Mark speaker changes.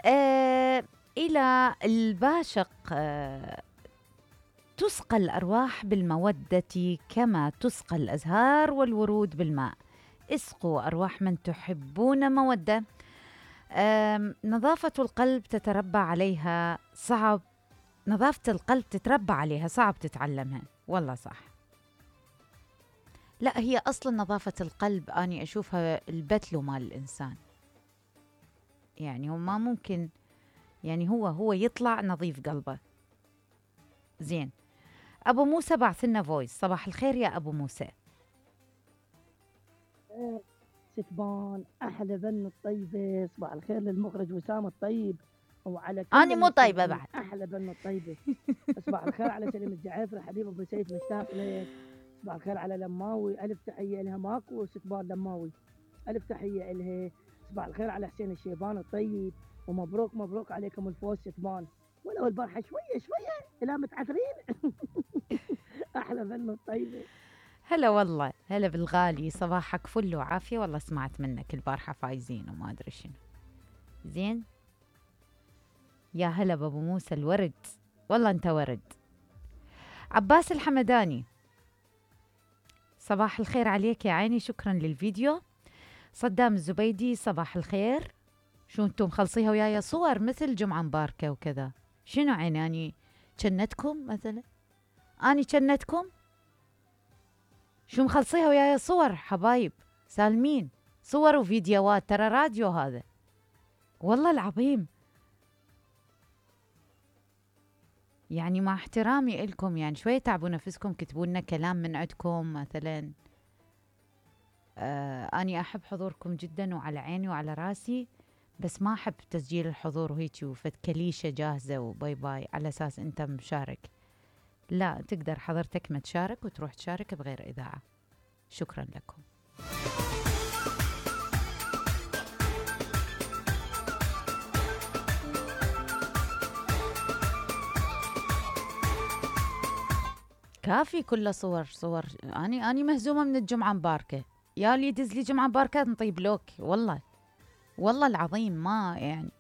Speaker 1: آه إلى الباشق تسقى الأرواح بالمودة كما تسقى الأزهار والورود بالماء. اسقوا أرواح من تحبون مودة. نظافة القلب تتربى عليها صعب. نظافة القلب تتربى عليها صعب تتعلمها. والله صح. لا، هي أصلا نظافة القلب أني أشوفها البتلو مال الإنسان. يعني هو ما ممكن، يعني هو يطلع نظيف قلبه. زين. أبو موسى بعث لنا فويس. صباح الخير يا أبو موسى.
Speaker 2: ستبان أحلى بن الطيبة. صباح الخير للمخرج وسام الطيب وعلى كل
Speaker 1: أنا مو طيبة بعد.
Speaker 2: أحلى بن الطيبة. صباح الخير على سليم الجعافري حبيب أبو سيف مشتاق لك. صباح الخير على لماوي، ألف تحية لها. ماكو ستبان لماوي، ألف تحية لها. صباح الخير على حسين الشيبان الطيب، ومبروك مبروك عليكم الفوز ستبان، ولو البارحة شوية شوية إلى متعثرين. أحلى بن الطيبة.
Speaker 1: هلا والله، هلا بالغالي. صباحك فل وعافية. والله سمعت منك البارحة فايزين وما أدري شنو. زين. يا هلا بابو موسى الورد. والله أنت ورد. عباس الحمداني. صباح الخير عليك يا عيني، شكرا للفيديو. صدام الزبيدي. صباح الخير. شو انتم مخلصيها وياي صور مثل جمعة مباركة وكذا؟ شنو عيني اني جنتكم مثلا؟ اني جنتكم؟ شو مخلصيها وياي صور حبايب سالمين؟ صور وفيديوهات، ترى راديو هذا والله العظيم. يعني مع احترامي إلكم، يعني شوية تعبوا نفسكم، كتبوا لنا كلام من عندكم مثلا. أني أحب حضوركم جدا وعلى عيني وعلى راسي، بس ما أحب تسجيل الحضور وهيك وفد كليشة جاهزة وباي باي على أساس أنت مشارك. لا، تقدر حضرتك ما تشارك وتروح تشارك بغير إذاعة. شكرا لكم. كافي كله صور. أني مهزومة من الجمعة مباركة. يا اللي يدز لي جمعة مباركة نطيب لوك. والله العظيم ما يعني